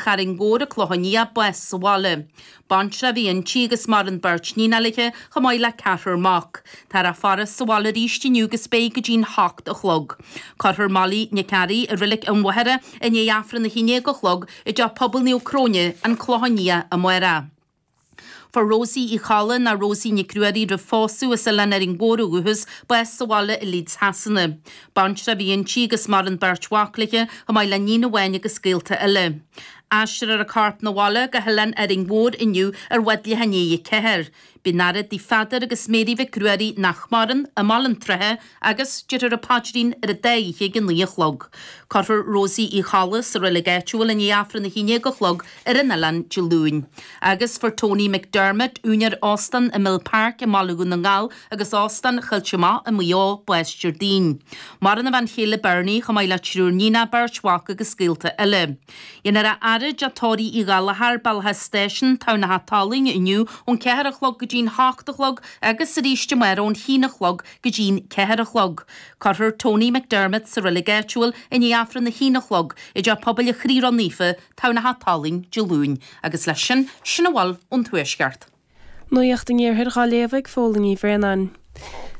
Charraig Mhór, An Clochán Liath, bás sa bhaile. Baintreach a bhí inti agus maireann beirt níonacha léi chomh maith le ceathrar mac. Táthar á faire sa bhaile arís inniu agus beidh go dtí'n hocht a chlog. Cuirfear Molly Nic Fhearraigh i Reilig an Mhachaire i ndiaidh Aifreann a haon déag a chlog i dTeach Pobail Naomh Cróine, An Clochán Liath amárach. Fuair Rosie Uí Cholla nó Rosie Nic Ruairí roimh phósadh as Oileán Árainn Mhór ó dhúchas, bás sa bhaile i Leeds Shasana. Baintreach a bhí inti agus maireann beirt mhac léi chomh maith le níon amháin agus gaolta eile. Aistreofar a corp 'na bhaile go hOileán Árainn Mhór inniu ar bhád leath i ndiaidh 4. Beidh an fhaire dtigh Pheadair agus Mary Mhic Ruairí nach maireann, i mBaile an tSratha agus déarfar an paidrín ar an dá oíche ag 9 a chlog. Cuirfear Rosie Uí Cholla sa reilig áitiúil i ndiaidh Aifreann 11 a chlog ar an oileán Dé Luain. Agus fuair Tony McDermott, úinéir óstán i Mill Park i mBaile Dhún na nGall agus Óstán Choillte Mach i Maigh Eo, bás Déardaoin. Maireann a bhean chéile Bernie chomh maith le triúr níonacha, beirt mhac agus gaolta eile. Dhéanfar a fhaire i dteach tórraimh Uí Ghallchóir, Bealach an Stáisiúin, Tamhnach Talainn inniu ón 4 a chlog go dtí'n 8 a chlog agus arís amárach ón 1 a chlog go dtí'n 4 a chlog. Cuirfear Tony McDermott sa reilig áitiúil i ndiaidh Aifreann a haon a chlog i dTeach Pobail an Chroí Ró-Naofa, Tamhnach Talainn, Dé Luain. Agus leis sin, sin a bhfuil ón Tuaisceart. Nuacht an Iarthair dhá léamh ag Fódhla Ní Bhraonáin.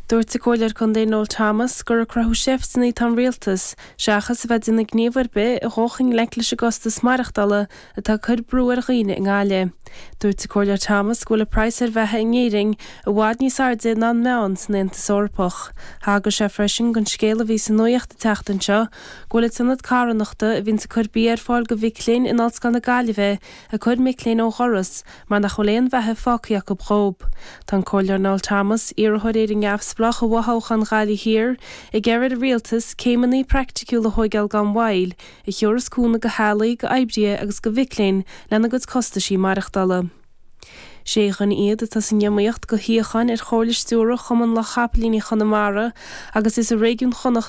Dúirt an Comhairleoir Contae Noel Thomas gur ag cruthú seifteanna atá an Rialtas, seachas a bheith ag déanamh gníomh ar bith a dhul i ngleic leis an gcostas maireachtála atá ag cur brú ar dhaoine i nGaillimh. Dúirt an Comhairleoir Thomas go bhfuil an praghas ar bheatha in Éirinn i bhfad níos airde ná an meán san Aontas Eorpach. Thagair sé freisin don scéal a bhí sa nuacht an tseachtain seo go bhfuil an t-ionad carthanachta a bhíonns ag cur bia ar fáil do mhic léinn in Ollscoil na Gaillimhe ag cur mic léinn ó dhoras mar nach bhfuil aon bheatha fágtha acu dhób. Tá an Comhairleoir Noel Thomas, iarrthóir Éire Neamhspleách i bhfothoghchán Ghaillimh Thiar, ag iarraidh ar an Rialtas céimeanna praiticiúla a thóigeáil gan mhoill, a thiúrfas cúnamh do theaghlaigh, do oibrithe agus do mhic léinn lena gcuid costaisí maireachtála. Sé dhuine iad atá san iomaíocht do shuíocháin ar Chomhairle Stiúrtha Chumann Lucht Chapaillíní Chonamara agus is i réigiún Chonnacht.